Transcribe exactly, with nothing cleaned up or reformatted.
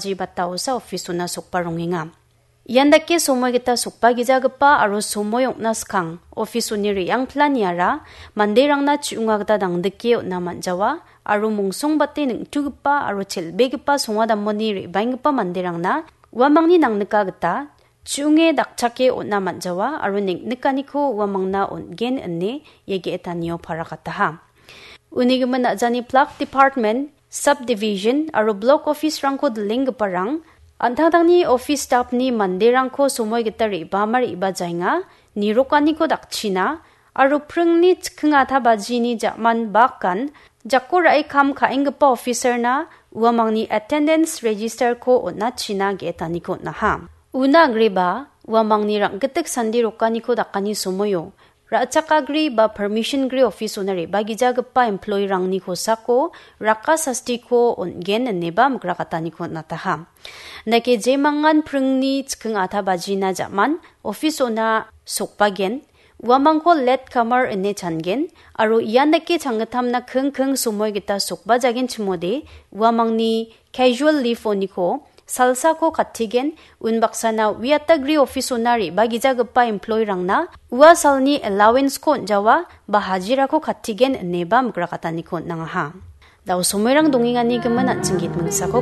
Ji bataosa office-ona sokba rongenga. Ian dake somoi gita sokba gijagipa aro somoi ong·na skang office-oni re·angpilaniara manderangna chi·onga gita dangdike on·a man·jawa aro mongsongbate ning·tugipa aro chel·begipa songadamoni re·baenggipa manderangna uamangni nangnika gita chi·onge dakchake on·a man·jawa aro neng·nikaniko uamangna on·gen ine ia ge·etanio parakataha. Unigimin a·jani plak department, subdivision aro blok office-rangko dilenggiparang an·tangtangni office staff-ni manderangko somoi gita re·bama re·bajaenga, nirokaniko dakchina aro pringni chikking ata bajini ja·man bakan jako ra·e kam ka·enggipa officer-na uamangni attendance register-ko on·achina ge·etaniko on·aha. Una agreba uamangni rang·gitik sandi rokaniko dakani somoio ra·chakagri ba permission gri office-ona re·bagijagipa employee-rangni kosako raka sastiko on·gen ineba mikrakataniko on·ataha. Dake jemangan pringni chikking ata bajina ja·man office-ona sokbagen, uamangko late comer ine changen, aro ian dake changgittamna kingking somoi gita sokbajagen chimode uamangni casual leave-oniko salsako kattigen, unbaksana uiatagri office-ona re·bagijagipa employee-rangna ua salni allowance-ko on·jawa ba hajirako kattigen ineba mikrakataniko on·angaha. Dao somoirang dongengani gimin an·ching git mingsako